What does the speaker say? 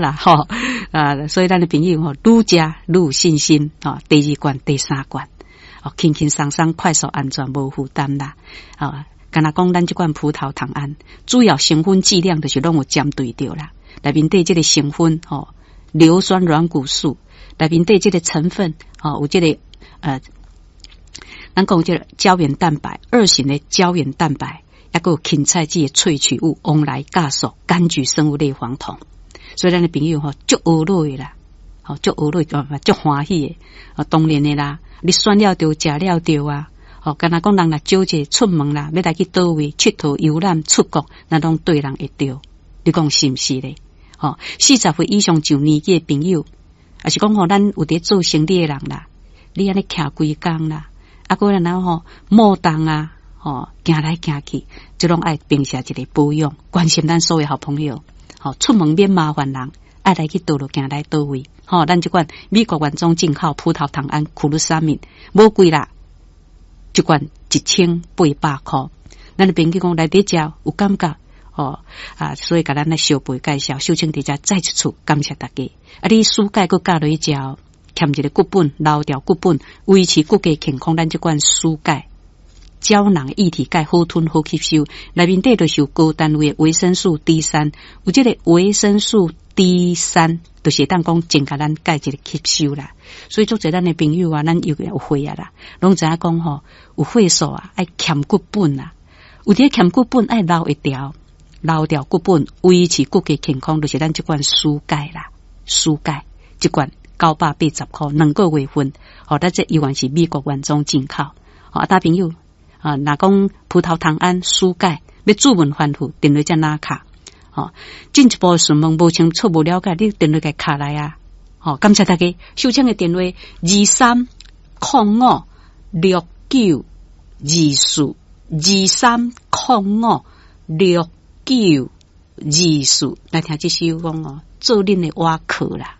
啦，吼啊！所以咱的朋友吼，愈食愈有信心，吼，第二罐、第三罐，哦，輕輕鬆鬆、快速、安全、無負擔啦，啊！敢若講咱這罐葡萄糖胺，主要成分劑量就是攏有針對著啦。內面底這個成分吼，硫酸軟骨素，內面底這個成分吼，有這個咱講這個膠原蛋白，二型的膠原蛋白，抑閣有芹菜籽的萃取物、黃來酵素、柑橘生物類黃酮。所以咱的朋友吼，足學落的啦，吼足學落，足歡喜的，哦，當然的啦，你選了著，食了著啊，吼，敢若講人若招一個出門啦，欲來去佗位𨑨迌遊覽出國，那攏對人會著，你講是毋是咧？吼，40歲以上上年紀的朋友，抑是講吼，咱有佇做生理的人啦，你按呢徛規工啦，啊，閣然後吼，摩動啊，吼，行來行去，這攏愛平時一個保養，關心咱所有好朋友。吼，出門免麻煩人，愛來去佗落行來佗位。吼，咱這款美國原裝進口葡萄糖胺苦魯沙敏，無貴啦，一罐1800箍。咱的朋友講來佇遮有感覺，吼啊，所以共咱來相陪介紹，秀清佇遮再一次感謝大家。啊，你舒鈣閣加落去食，欠一個骨本，留掉骨本，維持骨骼健康。咱這款舒鈣膠囊液體鈣好吞好吸收，內面底就是有高單位的維生素 D 三，有這個維生素 D 三，就是會當講增加咱鈣一個吸收啦。所以足濟咱的朋友啊，咱尤其有血壓啦，攏知影講吼，有血素啊，愛欠骨本啊，有佇欠骨本愛留一條，留掉骨本，維持骨骼健康，就是咱這款舒鈣啦，舒鈣這罐980箍，2個月份，吼，咱這依然是美國原裝進口，吼，啊，大朋友。啊，若講葡萄糖胺舒鈣欲主問反覆，電話才哪敲？吼，進一步詢問無清楚無了解，你電話共敲來啊！吼，感謝大家，秀清的電話23056924，23056924，來聽這首講哦，做恁的倚靠啦。